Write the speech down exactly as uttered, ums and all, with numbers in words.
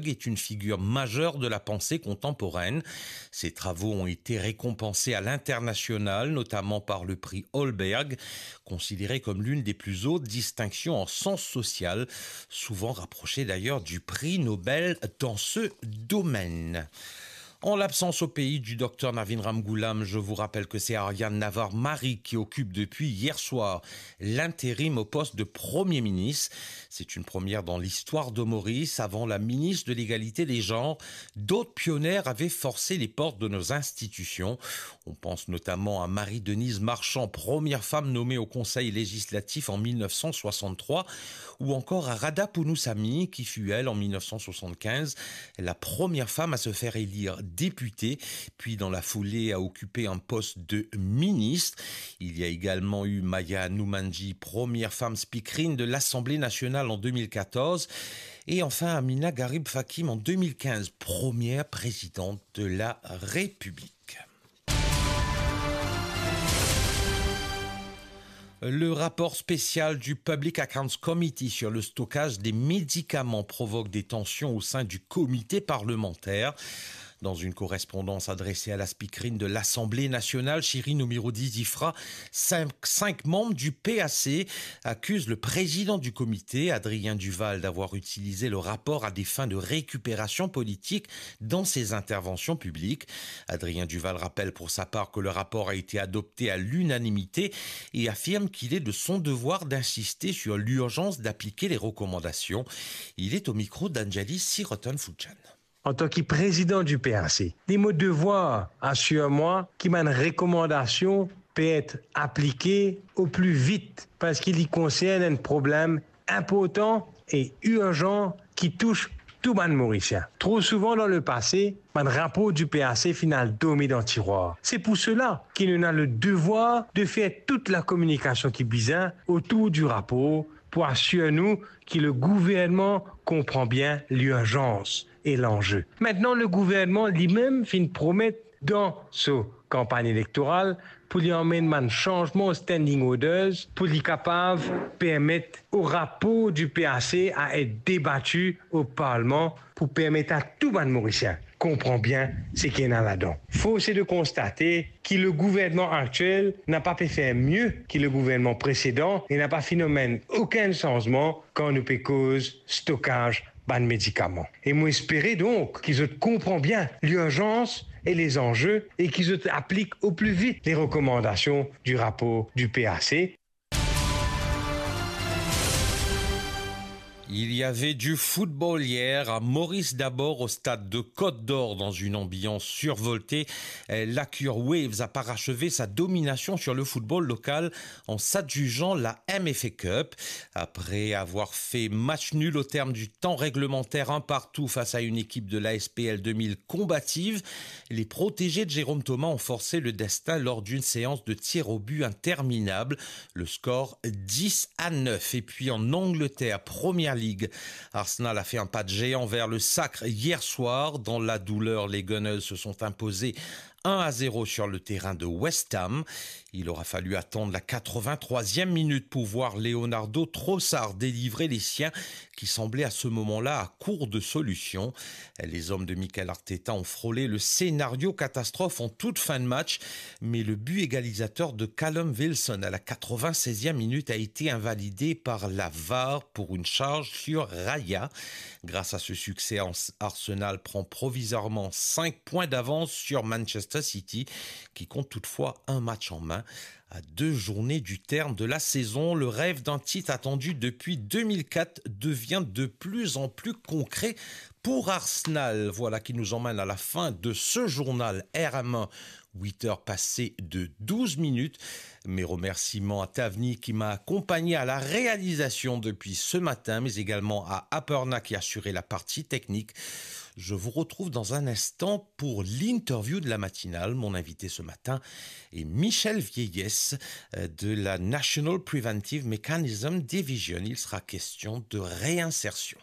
est une figure majeure de la pensée contemporaine. Ses travaux ont été récompensés à l'international, notamment par le prix Holberg, considéré comme l'une des plus hautes distinctions en sciences sociales, souvent rapprochée d'ailleurs du prix Nobel dans ce domaine. En l'absence au pays du docteur Navin Ramgoolam, je vous rappelle que c'est Aryan Navar Mari qui occupe depuis hier soir l'intérim au poste de Premier ministre. C'est une première dans l'histoire de Maurice. Avant la ministre de l'Égalité des genres, d'autres pionnières avaient forcé les portes de nos institutions. On pense notamment à Marie-Denise Marchand, première femme nommée au Conseil législatif en mille neuf cent soixante-trois, ou encore à Radha Poonusamee, qui fut, elle, en mille neuf cent soixante-quinze, la première femme à se faire élire députée, puis dans la foulée a occupé un poste de ministre. Il y a également eu Maya Hanoumandjee, première femme speakerine de l'Assemblée nationale en deux mille quatorze, et enfin Amina Gharib Fakim en deux mille quinze, première présidente de la République. Le rapport spécial du Public Accounts Committee sur le stockage des médicaments provoque des tensions au sein du comité parlementaire. Dans une correspondance adressée à la speakerine de l'Assemblée nationale, Shirin Omiroudi Zifra, cinq, cinq membres du P A C accusent le président du comité, Adrien Duval, d'avoir utilisé le rapport à des fins de récupération politique dans ses interventions publiques. Adrien Duval rappelle pour sa part que le rapport a été adopté à l'unanimité et affirme qu'il est de son devoir d'insister sur l'urgence d'appliquer les recommandations. Il est au micro d'Anjali Sirotan Fouchan. Antan ki prezidan di P A C, li mo devwar asir mwa ki bann rekomandasion pe et aplike o pli vit, parski li konsern enn problem inportan e irzan ki tous tou bann Morisien. Tro souvan dan lepase, bann rapor di P A C finn al dormi dan tirwar. Se pou sela ki nou ena le devwar de fer tout lakominikasion ki bizin otour di rapor pou asir nou ki le gouvernman konpran bien lirzans e lanze. Aster, le gouvernman limem finn promet dan so kanpagn elektoral pou li anmenn bann sanzman o standing orders pou li kapav permet o rapor di P A C a et debati o Parlman pou permet a tou bann Morisien konpran bien seki ena ladan. Forse de konstate ki le gouvernman aktiel napa pe fer mie ki le gouvernman presedan e napa finn anmenn okenn sanzman kan nou pe koz stokaz bann medikaman. E mo espere donk ki zot konpran bien lirzans e lezanze e ki zot aplik o pli vit le rekomandasion di rapor di P A C. Il y avait du football hier à Maurice d'abord au stade de Côte d'Or dans une ambiance survoltée. Euh, l'Acure Waves a parachevé sa domination sur le football local en s'adjugeant la M F A Cup. Après avoir fait match nul au terme du temps réglementaire un partout face à une équipe de l'A S P L deux mille combative, les protégés de Jérôme Thomas ont forcé le destin lors d'une séance de tirs au but interminable. Le score dix à neuf. Et puis en Angleterre, Première Ligue, Arsenal a fait un pas de géant vers le sacre hier soir. Dans la douleur, les Gunners se sont imposés un à zéro sur le terrain de West Ham. Il aura fallu attendre la quatre-vingt-troisième minute pour voir Leonardo Trossard délivrer les siens qui semblaient à ce moment-là à court de solutions. Les hommes de Mikel Arteta ont frôlé le scénario catastrophe en toute fin de match, mais le but égalisateur de Callum Wilson à la quatre-vingt-seizième minute a été invalidé par la var pour une charge sur Raya. Grâce à ce succès, Ars-, Arsenal prend provisoirement cinq points d'avance sur Manchester City, qui compte toutefois un match en main. À deux journées du terme de la saison, le rêve d'un titre attendu depuis deux mille quatre devient de plus en plus concret pour Arsenal. Voilà qui nous emmène à la fin de ce journal R M un, huit heures passées de douze minutes. Mes remerciements à Tavni qui m'a accompagné à la réalisation depuis ce matin, mais également à Aparna qui a assuré la partie technique. Je vous retrouve dans un instant pour l'interview de la matinale. Mon invité ce matin est Michel Vieillesse, euh, de la National Preventive Mechanism Division. Il sera question de réinsertion.